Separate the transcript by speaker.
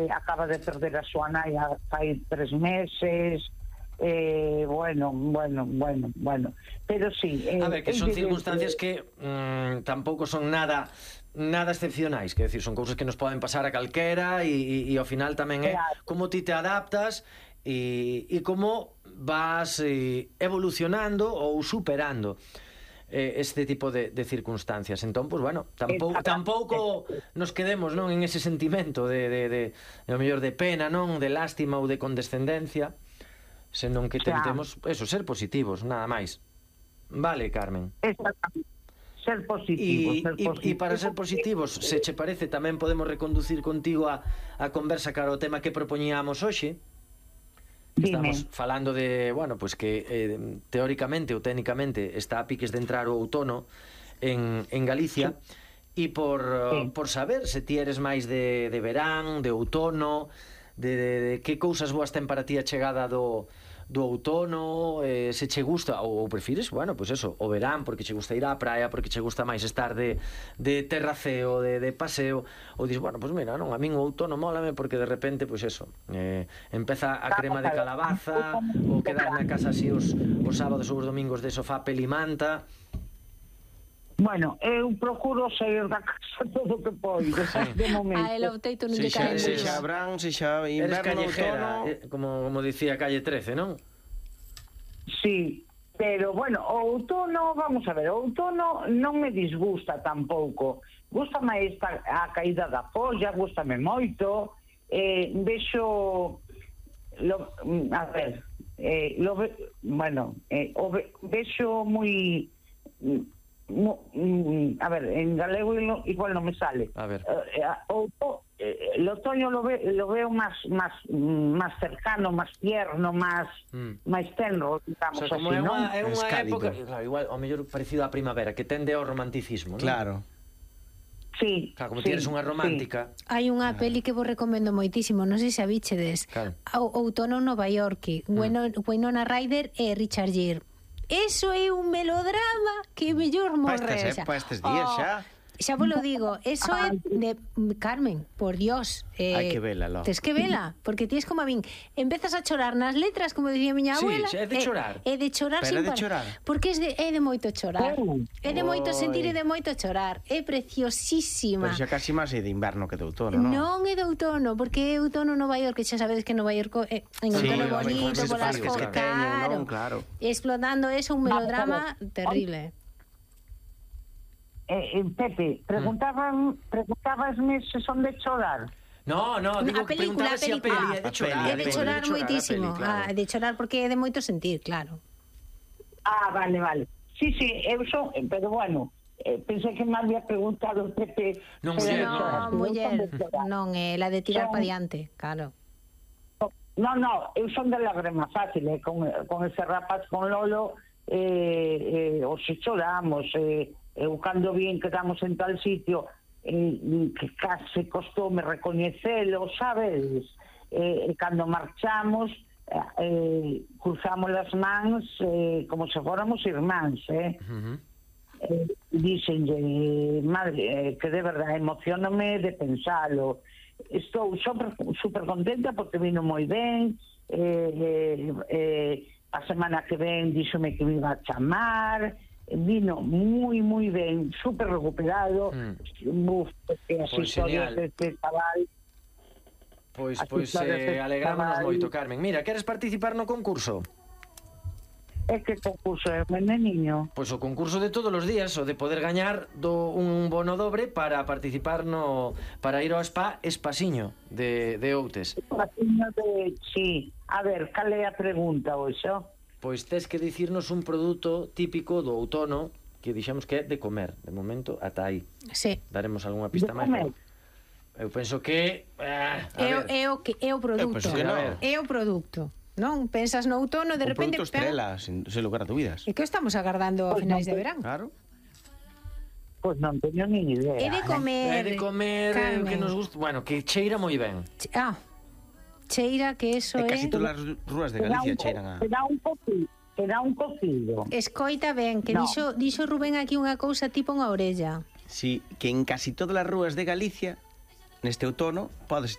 Speaker 1: acaba de perder a súa nai fai 3 meses. Bueno, pero sí,
Speaker 2: a ver, que son circunstancias que tampouco son nada excepcionais, que decir, son cousas que nos poden pasar a calquera e ao final tamén é como ti te adaptas e como vas evolucionando ou superando este tipo de circunstancias. Entón, pues bueno, tampouco nos quedemos, non, en ese sentimento de ao mellor de pena, non, de lástima ou de condescendencia, senón que tentemos eso, ser positivos, nada máis. Vale, Carmen?
Speaker 1: Exactamente. Ser positivos.
Speaker 2: E para ser positivos, se che parece, tamén podemos reconducir contigo a conversa cara ao tema que propoñíamos hoxe. Estamos falando de, bueno, pues que teóricamente ou técnicamente está a piques de entrar o outono en Galicia, e por saber se ti eres máis de verán, de outono, de que cousas boas ten para ti a chegada do outono, se che gusta ou prefires, bueno, pues eso, o verán porque che gusta ir á praia, porque che gusta máis estar de terraceo, de paseo, ou dis, bueno, pues mira, non, a min o outono mólame porque de repente, pues eso, empeza a crema de calabaza, ou quedar na casa así os sábados ou os domingos de sofá pelimanta.
Speaker 1: Bueno, eu procuro sair da casa todo o que poido, de momento.
Speaker 3: El outeito non lle cae.
Speaker 4: Se xa verán, se xa inverno, outono,
Speaker 2: como dicía Calle 13, non?
Speaker 1: Sí, pero bueno, o outono, vamos a ver, o outono non me disgusta tampouco. Gústame a caída da folla, gústame moito. Vexo vexo moi a ver, en galego igual non me sale.
Speaker 2: A ver.
Speaker 1: El otoño lo veo más cercano, más tierno, más tenro, digamos,
Speaker 2: o sea, como
Speaker 1: así, ¿no?
Speaker 2: É unha época, claro, igual ao mellor parecido á primavera, que tende ao romanticismo, non?
Speaker 4: Claro.
Speaker 1: Sí.
Speaker 2: Claro, como tienes unha romántica.
Speaker 3: Hai unha peli que vos recomendo moitísimo, non sei se a bichedes.
Speaker 2: Claro.
Speaker 3: Outono en Nova York, Winona Ryder e Richard Gere. Eso é un melodrama que mellor morre.
Speaker 4: Para estes días xa.
Speaker 3: Xa vos lo digo, eso é de Carmen, por Dios.
Speaker 4: Hai que vela, lo.
Speaker 3: Tes que vela, porque tienes como a min, empezas a chorar nas letras, como dicía miña abuela.
Speaker 2: Sí, é de chorar.
Speaker 3: É de chorar
Speaker 4: sin
Speaker 3: parar. Porque é de moito chorar. É de moito sentir e de moito chorar. É preciosísima.
Speaker 4: Pero xa casi máis é de inverno que de outono, non?
Speaker 3: Non é de outono, porque é outono en Nova York, que xa sabedes que Nova York é en outono bonito, polas cosas,
Speaker 4: claro.
Speaker 3: Explotando eso, un melodrama terrible.
Speaker 1: Pepe, preguntabasme se son de chorar.
Speaker 2: No, digo, preguntaba se a peli é de chorar.
Speaker 3: É de chorar moitísimo, de chorar porque é de moito sentir, claro.
Speaker 1: Vale. Sí, eu son, pero bueno, pensei que me había preguntado Pepe.
Speaker 2: Non,
Speaker 3: muller, non, la de tirar para diante, claro.
Speaker 1: No, eu son de lágrima fácil, con ese rapaz, con Lolo, o se choramos, eu cando bien quedamos en tal sitio, que case costoume recoñecelo, sabes? Cando marchamos, cruzamos as mans como se fóramos irmáns, díxenlle, madre, que de verdade emocioname de pensalo. Estou super contenta porque vino moi ben. A semana que ven díxome que me iba a chamar. Vino moi ben, super recuperado. As historias deste chaval.
Speaker 2: Pois alegrámonos moito, Carmen. Mira, queres participar no concurso?
Speaker 1: É que concurso é, niño?
Speaker 2: Pois o concurso de todos os días, o de poder gañar un bono dobre para participar para ir ao spa Espasiño de Outes.
Speaker 1: Espasiño sí. A ver, cal é a pregunta, oxo?
Speaker 2: Pois tes que dicirnos un produto típico do outono que dixemos que é de comer. De momento, ata aí.
Speaker 3: Sí.
Speaker 2: Daremos algunha pista máis. Eu penso que...
Speaker 3: É o produto. É o produto. Non? Pensas no outono, de repente...
Speaker 4: Un produto estrela, sen lugar a dúbidas.
Speaker 3: E que estamos agardando a finais de verán?
Speaker 4: Claro.
Speaker 1: Pois non teño ni idea.
Speaker 3: É de comer,
Speaker 2: que nos gusta... Bueno, que cheira moi ben.
Speaker 3: Cheira que eso é...
Speaker 4: Casi todas as rúas de Galicia cheiran a...
Speaker 1: Será un cocido.
Speaker 3: Escoita ben, que dixo Rubén aquí unha cousa tipo unha orella.
Speaker 4: Sí, que en casi todas as rúas de Galicia neste outono podes